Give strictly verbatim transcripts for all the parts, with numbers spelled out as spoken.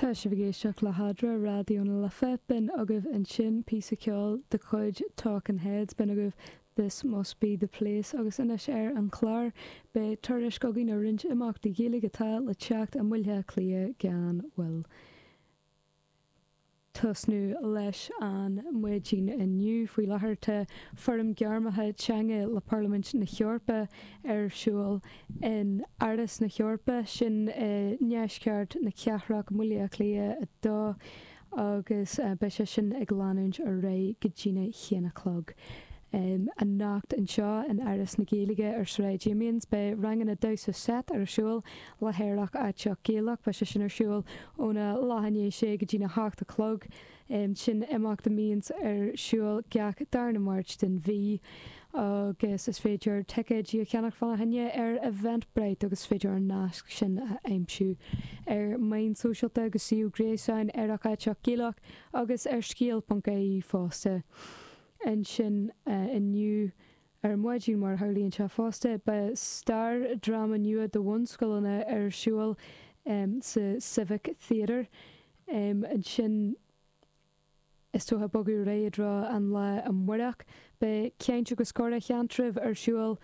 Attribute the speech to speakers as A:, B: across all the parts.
A: Tá sibh ag éisteacht le hAdra Raidió na Life. B'in agaibh ansin píosa ceoil de chuid Talking Heads, b'in agaibh This Must Be The Place agus anois ar an chlár beidh tuairisc againn ar roinnt imeachtaí Gaeilge atá le teacht i mBaile Átha Cliath gan mhoill. Tosnú leis an maidin inniu faoi láthair tá fóram gairmeacha teanga le Parlaimint na hEorpa ar siúl in Áras na hEorpa, sin i ndeisceart na cathrach i mBaile Átha Cliath a dó agus beidh sé sin ag leanúint ar aghaidh go dtína haon a chlog. Anocht anseo in Áras na Gaeilge ar Sráid Amiens beidh ranganna damhsa seit ar siúl le hAerach Aiteach Gaelach, beidh sé sin ar siúl óna leath i ndiaidh a sé go dtína hocht a chlog. Sin imeacht a mbíonns ar siúl gach darna Máirt den mhí agus is féidir ticéidí a cheannach fána choinne ar Eventbrite agus is féidir an nasc sin a aimsiú ar meáin sóisialta agus suíomh gréasáin Aerach Aiteach Gaelach agus ar scéal.ie fosta. Ansin inniu ar maidin mar a tharlaíonn sé fosta, beidh Star dráma nua do bhunscoileanna ar siúl sa Civic Theatre. Ansin is dócha bogadh ar aghaidh i dtreo an lae amárach. Beidh Caint agus Comhrá Sheantraibh ar siúl,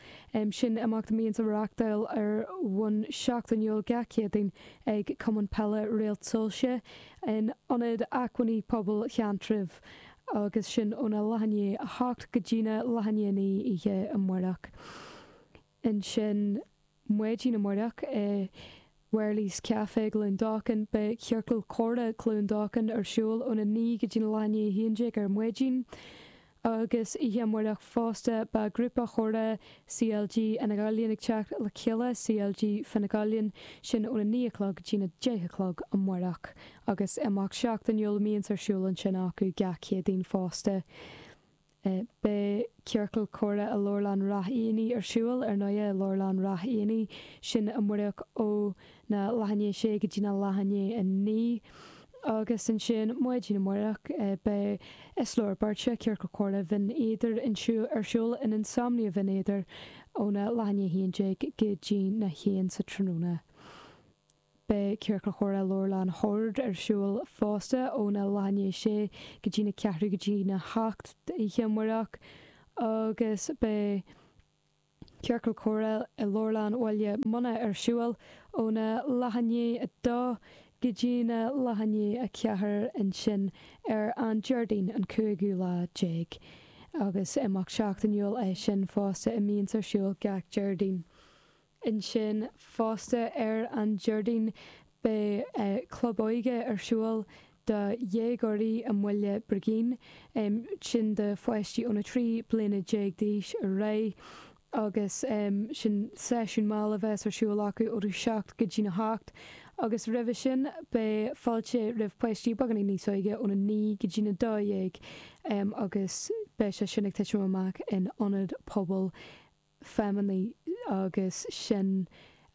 A: sin imeacht a mbíonns á reáchtáil ar bhonn seachtainiúil gach Céadaoin ag Cumann Peile Réalt Soilse in Ionad Acmhainní Pobail Sheantraibh agus sin óna leath i ndiaidh a hocht go dtína leath i ndiaidh a naoi oíche amárach. Ansin maidin amárach i Wherley's Café i gCluain Dolcáin beidh Ciorcal Comhrá Chluain Dolcáin ar siúl óna naoi go dtína leath i ndiaidh a haon déag ar maidin. Agus oíche amárach fosta beidh grúpa comhrá CLG Fhine Gaillimh ag teacht le chéile, CLG Fine Gaillimh, sin óna naoi a chlog go dtína deich a chlog amárach. Agus imeacht seachtainiúil a mbíonns ar siúl ansin acu gach Céadaoin fosta. Beidh ciorcal comhrá i Leabharlann Ráth Éanaigh ar siúl, ar ndóighe, i Leabharlann Ráth Éanaigh, sin amárach ó na leath i ndiaidh a sé go dtí na leath i ndiaidh a naoi. Agus ansin maidin amárach beidh Is Leor Beirte, Ciorcal Comhrá Bhinn Éadair ar siúl in Insomnia Bhinn Éadair óna leath i ndiaidh a haon déag go dtí na haon sa tráthnóna. Beidh Ciorcal Comhrá Leabharlann Shoird ar siúl fosta óna leath i ndiaidh a sé go dtí na ceathrú go dtí na hocht oíche amárach agus beidh Ciorcal Comhrá i Leabharlann Bhaile Munna ar siúl óna leath i ndiaidh a dó go dtína leath i ndiaidh a ceathair ansin ar an Déardaoin an cúigiú lá déag agus imeacht seachtainiúil é sin fosta a mbíonns ar siúl gach Déardaoin. Ansin fosta ar an Déardaoin beidh Club Óige ar siúl do dhéagóirí i mBaile Brigín, sin do pháistí óna trí bliana déag d'aois ar aghaidh agus sin seisiún mall a bheas ar siúl acu ó a seacht go dtína hocht agus roimhe sin beidh fáilte roimh pháistí beagáinín níos óige óna naoi go dtína dó dhéag agus beidh sé sin ag titim amach in Ionad Pobail Feidhmeannaigh agus sin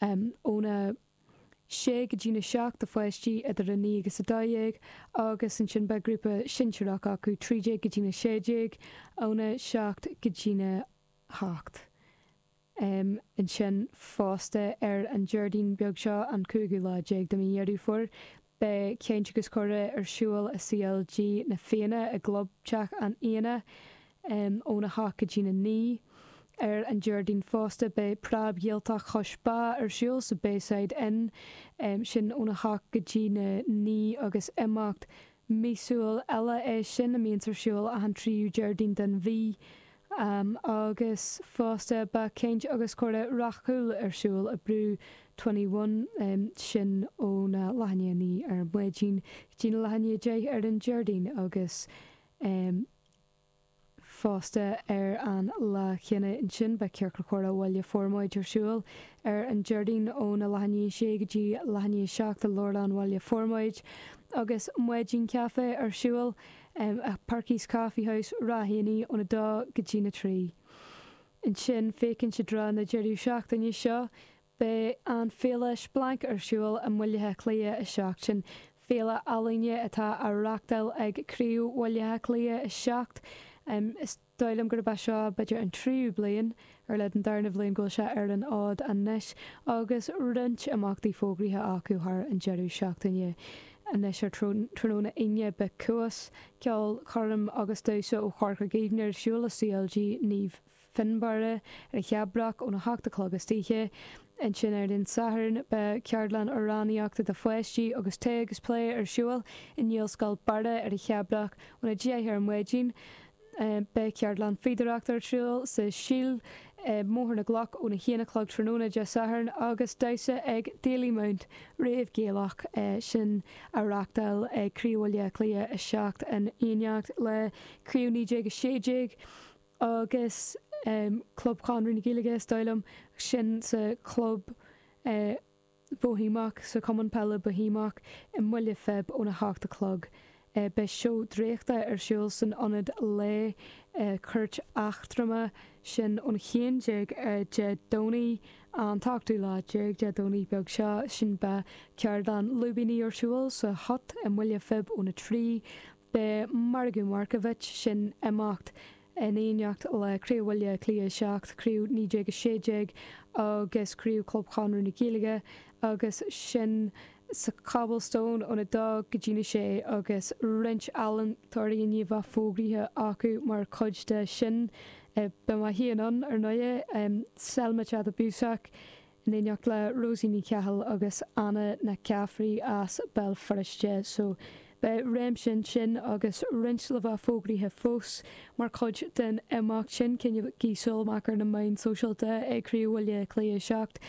A: óna sé go dtína seacht do pháistí idir a naoi agus a dó dhéag agus ansin beidh grúpa sinsearach acu trí déag go dtína sé déag óna seacht go dtína hocht. Ansin fosta ar an Déardaoin beag seo, an cúigiú lá déag de mhí Dheireadh Fómhair, beidh Caint agus Comhrá ar siúl i CLG na Fianna i gClubtheach an Fhianna óna hocht go dtína naoi. Ar an Déardaoin fosta beidh Preab Ghaeltacht Chois Bá ar siúl sa Bayside Inn, sin óna hocht go dtína naoi agus imeacht míosúil eile é sin a mbíonns ar siúl achan tríú Déardaoin den mhí. Agus fosta beidh Caint agus Comhrá Rathchúil ar siúl i Brew Twenty One, sin óna leath i ndiaidh a naoi ar maidin go dtí na leath i ndiaidh a deich ar an Déardaoin agus fosta ar an lá chéanna ansin beidh Ciorcal Comhrá Bhaile Formaid ar siúl ar an Déardaoin óna leath i ndiaidh a sé go dtí leath i ndiaidh a seacht i Leabharlann Bhaile Formaid agus Maidin Caife ar siúl i Perky's Coffee House, Ráth Éanaigh óna dó go dtína trí. Ansin féachaint i dtreo na deireadh seachtaine seo Beidh an Féile Splanc ar siúl i mBaile Átha Cliath a seacht. Sin féile ealaíne atá á reachtáil ag Craobh Bhaile Átha Cliath a seacht. Is dóigh liom gurb é seo b'fhéidir an tríú bliain, ar a laghad an darna bhliain go bhfuil sé ar an fhód anois agus roinnt imeachtaí fógraithe acu thar an deireadh seachtaine. Anois ar tráthnóna Aoine beidh Cuas, ceolchoirm agus damhsa ó Chorca Dhuibhne ar siúl i CLG Naomh Fionnbarra ar an Cheapach óna hocht a chlog istoíche. Ansin ar an Satharn beidh ceardlann amhránaíochta do pháistí agus tae agus plé ar siúl i nGaelscoil Barra ar an Cheapach óna deich ar maidin. Beidh ceardlann fíodóireachta ar siúl sa Síol i mBóthar na gCloch óna haon a chlog tráthnóna Dé Sathairn agus damhsa ag Dalymount Rave Gaelach sin á reáchtáil ag Craobh Bhaile Átha Cliath a seacht in éineacht le Craobh naoi déag a sé déag agus Club Chonradh na Gaeilge is dóigh liom sin sa chlub Boihéamach sa Chumann Peile Boihéamach i mBaile Phib óna hocht a chlog. Beidh seó draíochta ar siúl san Ionad Lae Cúirt Aontroma, sin ón haon déag Dé Domhnaigh, an t-ochtú lá déag Dé Domhnaigh beag seo. Sin beidh ceardlann lúibíní ar siúl sa Hut i mBaile Phib óna trí. Beidh Margadh Markievicz, sin imeacht in éineacht le Craobh Bhaile Átha Cliath a seacht, Craobh naoi déag a sé déag agus Craobh Chlub Chonradh na Gaeilge agus sin sa Cobblestone óna dó go dtí na sé agus roinnt ealaíontóirí i ndiaidh bheith fógraithe acu mar chuid de sin. Beidh mé féin ann, ar ndóigh, Selma Chadha Bussac in éineacht le Rosie Ní Cheathail agus Anna Nic Caffrey as Béal Feirste. So beidh réimse ansin agus roinnt le bheith fógraithe fós mar chuid den imeacht sin. Coinnígí súil amach ar na meáin sóisialta ag Craobh Bhaile Átha Cliath a seacht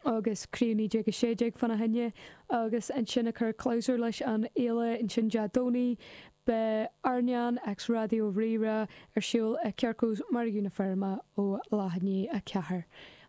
A: agus Craobh naoi déag a sé déag fána choinne agus ansin ag cur clabhsúr leis an fhéile ansin Dé Domhnaigh beidh Airneán x Raidió Rí-Rá ar siúl i Quirko's Margadh na Feirme ó leath i ndiaidh a ceathair.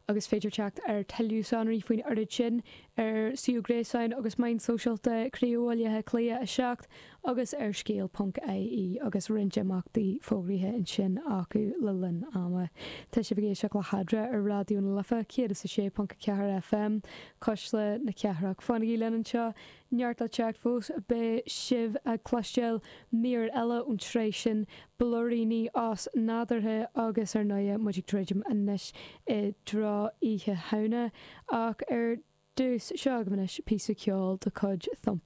A: Agus féidir teacht ar tuilleadh sonraí faoin oiread sin ar suíomh gréasáin agus meáin sóisialta Craobh Bhaile Átha Cliath a seacht agus ar scéal ponc ie agus roinnt imeachtaí fógraithe ansin acu le linn ama. Tá sibh ag éisteacht le hEadra ar Raidió na Life céad is a sé ponc a ceathair FM, Cuisle na Cathrach. Fanaigí linn anseo, neart le teacht fós, beidh sibh ag cloisteáil mír eile ón tsraith sin, Blúiríní Osnádúrtha agus ar ndóigh muid ag druidim anois i dtreo Oíche Shamhna ach ar dtús seo agaibh anois píosa ceoil de chuid Thumper.